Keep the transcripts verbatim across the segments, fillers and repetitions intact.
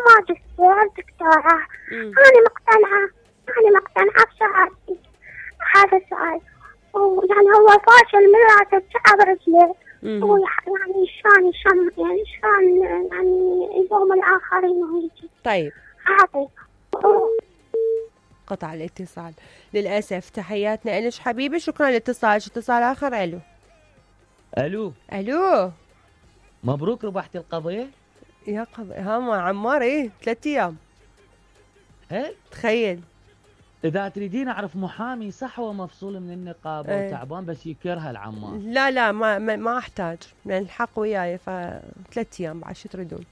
ماجستير دكتوراه. أنا مقتنعة أنا مقتنعة بشهادتي. هذا السؤال ويعني هو فاشل من راسه بشعب رجله. هو يعني شلون شلون يعني شلون يعني يلوم الآخرين وهيجي. طيب هذا قطع الاتصال للأسف. تحياتنا إلش حبيبي، شكرا لاتصالك. اتصال آخر. ألو ألو ألو مبروك ربحت القضية يا قضية. ها ما عمار إيه ثلاث أيام. هل تخيل. إذا تريدين أعرف محامي صح هو مفصول من النقابة ايه. وتعبان بس يكرها العمار. لا لا ما ما, ما أحتاج لأن الحق وياي فثلاث أيام بعد شو تريدون.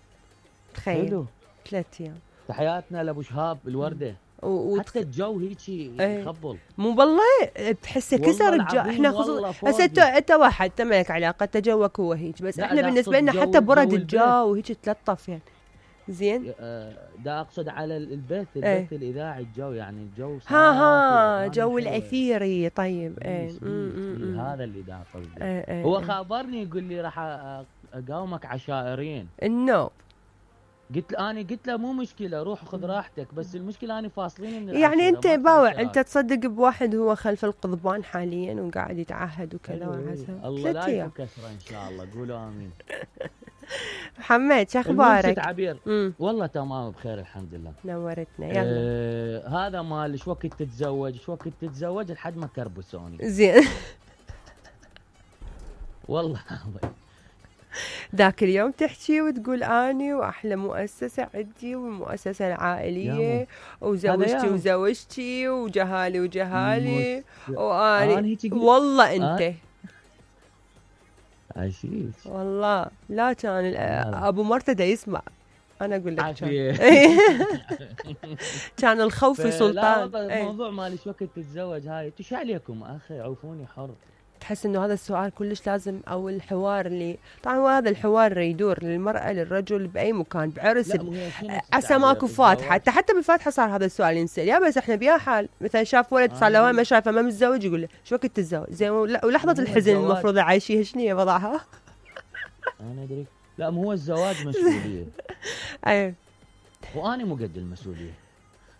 تخيل حلو. ثلاث أيام. تحياتنا لأبو شهاب الوردة. و... حتى الجو هيجي ايه. يخبل. مو بالله تحسه كسر الجو. احنا خصوصا هسه انت انت واحد انت مالك علاقه انت جوك هو هيك بس احنا بالنسبه لنا حتى برد الجو وهيك تلطف يعني زين. دا اقصد على البث البث ايه. الاذاعي الجو يعني الجو ها ها جو الاثيري. طيب ايه هذا اللي دا قصدي. ايه ايه هو ايه. خابرني يقول لي راح اقاومك عشائرين. النو قلت له انا قلت له مو مشكله روح خذ راحتك بس المشكله انا فاصلين من يعني انت باوع انت تصدق بواحد هو خلف القضبان حاليا وقاعد يتعهد وكذا وعسى. الله لا يكسره ان شاء الله. قولوا امين. محمد شو اخبارك؟ عبير والله تمام بخير الحمد لله. نورتنا. يلا آه هذا مال شو وقت تتزوج شو وقت تتزوج لحد ما كربسوني زين. والله ذاك اليوم تحكي وتقول اني واحلى مؤسسه عندي والمؤسسه العائليه وزوجتي وزوجتي وجهالي وجهالي واني والله انت عشيش والله لا كان ابو مرتدى يسمع. انا اقول لك كان كان الخوف سلطان. الموضوع مالي شو وقت تتزوج هاي تش عليكم اخي عوفوني حر. تحس انه هذا السؤال كلش لازم او الحوار اللي طبعا هو هذا الحوار يدور للمرأة للرجل بأي مكان بعرس عسى ماكو فاتحة. حتى حتى بالفاتحة صار هذا السؤال ينسأل. يا بس احنا بيا حال مثلا شاف ولد صار له ما شافه ما متزوج يقول له شو وقت تتزوج زين ولحظة الحزن المفروض عايشيها شنو هي وضعها. انا ادري لا مو هو الزواج مسؤولية. اي وانا مو قد المسؤولية.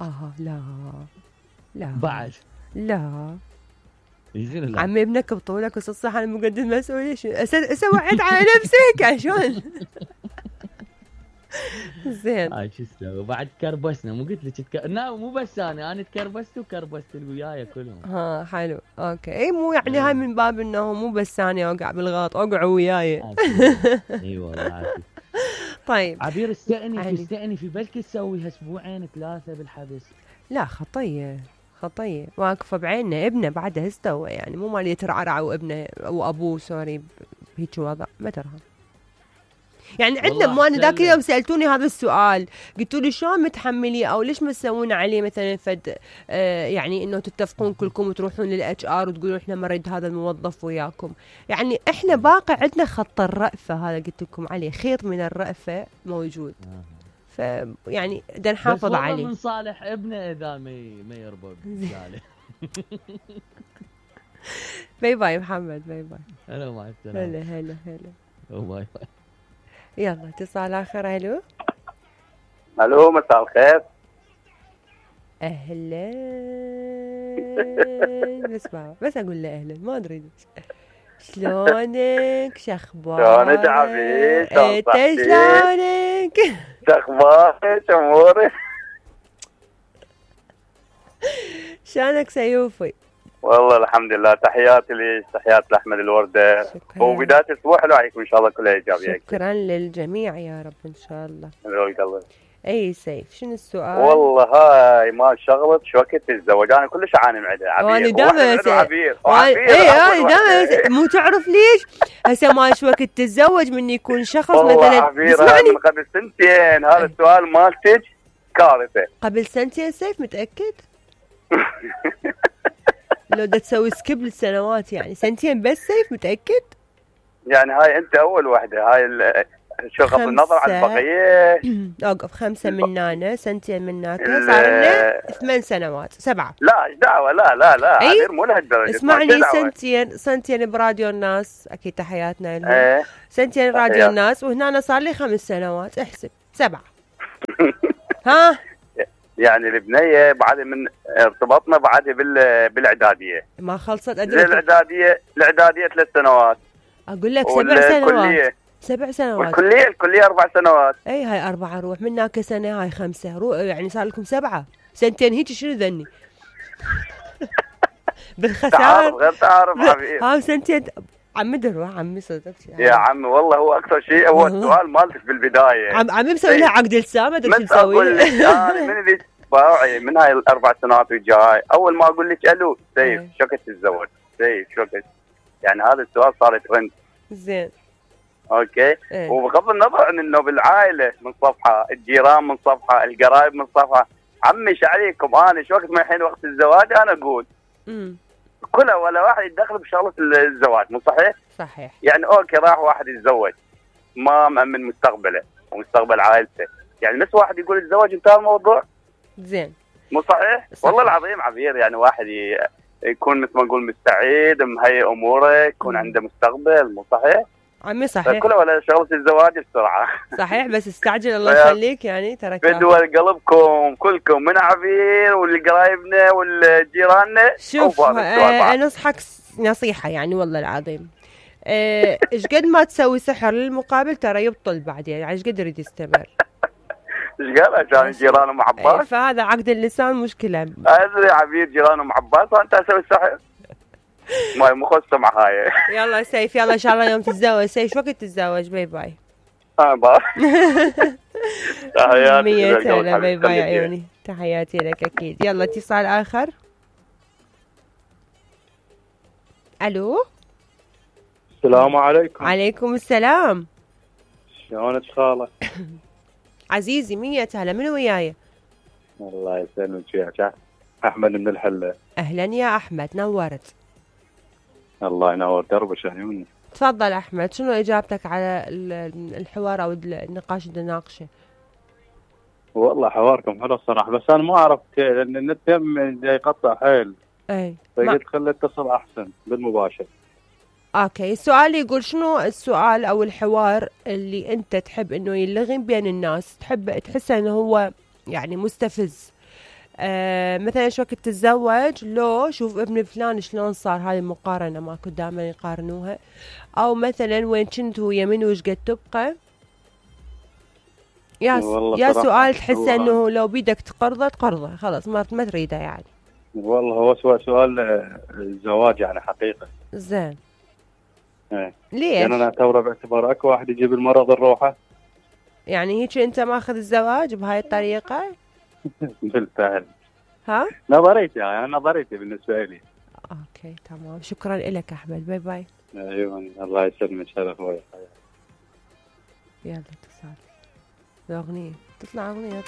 اه لا لا بعد لا عمي ابنك بطولك وصل صح انا مقدم المسؤوليه شو سويت على نفسك عشان زين. هاي شو اسوي بعد كربسنا مو قلت لك تك... لا مو بس انا انا تكربست وكربست اللي وياي كلهم. ها حلو اوكي. اي مو يعني هاي من باب انه مو بس انا اوقع بالغلط اوقعوا وياي. اي والله عافية. طيب عبير استأني استأني في بالك تسويها اسبوعين ثلاثه بالحبس. لا خطيه خطية واقفة بعيننا. ابنه بعدها استوى يعني مو مالي يترعرع وابنه وابوه سوري بهيك وضع ما ترها يعني عندنا. مو انا ذاك اليوم سالتوني هذا السؤال قلتوا لي شلون متحمليه او ليش ما تسوون عليه مثلا فد آه يعني انه تتفقون كلكم وتروحون للاتش ار وتقولوا احنا ما نريد هذا الموظف وياكم. يعني احنا باقي عندنا خط الرأفة هذا قلت لكم عليه خيط من الرأفة موجود. ف يعني بدنا نحافظ عليه. من صالح ابنه اذا ما ما يرضى بذلك. باي باي محمد باي باي. هلا مع السلامه. هلا هلا هلا باي باي. يلا اتصال اخر. الو الو مساء الخير. اهلا بس ما بس اقول له اهلا ما ادري شلونك شخبارك شلونك عبيد انت شلونك شخبارك امورك شلونك سيوفي؟ والله الحمد لله. تحياتي لي تحيات لاحمد الورده. شكرا. وبدايه اسبوع حلو عليكم ان شاء الله كلها ايجابيه. شكرا للجميع يا رب ان شاء الله. القلب. اي سيف شنو السؤال؟ والله هاي ما شغلت شو وقت تتزوج انا كلش اعاني معدها عبير. وانا دائما عبير اي انا دائما مو تعرف ليش هسه ما شو وقت تتزوج من يكون شخص مثلا اسمعني من قبل سنتين هذا السؤال مالتك كارثه. قبل سنتين سيف متاكد؟ لو دا تسوي سكيب للسنوات يعني سنتين بس سيف متاكد؟ يعني هاي انت اول وحده هاي شو غض النظر عن البقيه. اوقف خمسه من هنا سنتين من هناك صار لنا ثمان سنوات سبعه. لا ايش دعوه لا لا لا أي؟ مو لهالدرجه. اسمعني سنتين سنتين براديو الناس اكيد تحياتنا لهم. ايه؟ سنتين راديو الناس وهنا صار لي خمس سنوات احسب سبعه. ها يعني البنيه بعد من ارتبطنا بعد بال بالاعداديه. ما خلصت ادري الاعداديه الاعداديه ثلاث سنوات. اقول لك سبع سنوات. سبع سنوات. والكليه الكليه اربع سنوات. اي هاي اربعه روح منك سنه هاي خمسه روح يعني صار لكم سبعه سنتين هيك شنو ذني؟ بالخساره تعارف غير تعارف حبيبي. ها سنتين عمي دروح عمي صدق يا عمي والله هو اكثر شيء هو السؤال مالتك بالبدايه. عم عمي مسوي لها عقد لسان ما ادري شو مسوي. اقول لك انا من اللي باوعي من هاي الاربع سنوات وجاي اول ما اقول لك الو سيف شو كنت تتزوج؟ سيف شو كنت؟ يعني هذا السؤال صار ترند. زين. اوكي ايه. وبغض النظر عن انه بالعائله من صفحه، الجيران من صفحه، القرايب من صفحه، عمي ايش عليكم انا شو وقت ما الحين وقت الزواج انا اقول امم كلها ولا واحد يتدخل بشغله الزواج مو صحيح؟ صحيح. يعني اوكي راح واحد يتزوج ما مأمن مستقبله ومستقبل عائلته، يعني نفس واحد يقول الزواج انتهى الموضوع. زين. مو صحيح؟ صحيح. والله العظيم عبير يعني واحد يكون مثل ما نقول مستعد مهيئ اموره يكون مم. عنده مستقبل مو صحيح؟ عمي صحيح. كله ولا شغله الزواج بسرعه. صحيح بس استعجل الله يخليك يعني ترى بدول قلبكم كلكم من عبير والقرايبنا والجيراننا. شوف آه انصحك نصيحه يعني والله العظيم ايش آه قد ما تسوي سحر للمقابل ترى يبطل بعدين يعني ايش قد يريد يستمر. ايش قال عشان جيرانه مع عباس؟ ايه فهذا عقد اللسان مشكله. ادري عبير جيرانه مع عباس وانت اسوي السحر. ما مو خصه مع هاي. يلا سيف يلا ان شاء الله يوم تتزوج. سيف شو وقت تتزوج؟ باي باي. اه باي. تحياتي. مية هلا باي باي عيوني. تحياتي لك اكيد. يلا اتصال اخر. الو. السلام عليكم. عليكم السلام. شلونك خاله؟ عزيزي مية هلا منو وياي؟ الله يسلمك وياك احمد من الحله. اهلا يا احمد نورت. الله ينور دربك عيوني. تفضل احمد شنو اجابتك على الحوار او النقاش اللي نناقشه؟ والله حواركم حلو الصراحه بس انا ما اعرف لان النت جاي يقطع حيل. اي فقلت خلي اتصل احسن بالمباشر. اوكي السؤال يقول شنو السؤال او الحوار اللي انت تحب انه يلغي بين الناس تحب تحسه انه هو يعني مستفز. آه مثلا شو وقت تتزوج لو شوف ابن فلان شلون صار هذه المقارنة ما كنت دائما يقارنوها او مثلا وين كنت ويا من وش قد تبقى. يا يا سؤال تحسه انه لو بيدك تقرضه تقرضه خلاص ما ما تريده يعني. والله هو سؤال سؤال الزواج يعني حقيقة. زين. ايه. ليش؟ يعني انا اعتبره باعتبار اكو واحد يجيب المرض الروحه. يعني هيك انت ماخذ الزواج بهاي الطريقة؟ بالفعل. ها؟ نظريتي يعني نظريتي بالنسبة لي. اوكي تمام شكرا لك احمد باي باي. ايوه الله يسلمك هلا اخوي. يلا اتصال. الاغنية تطلع اغنية.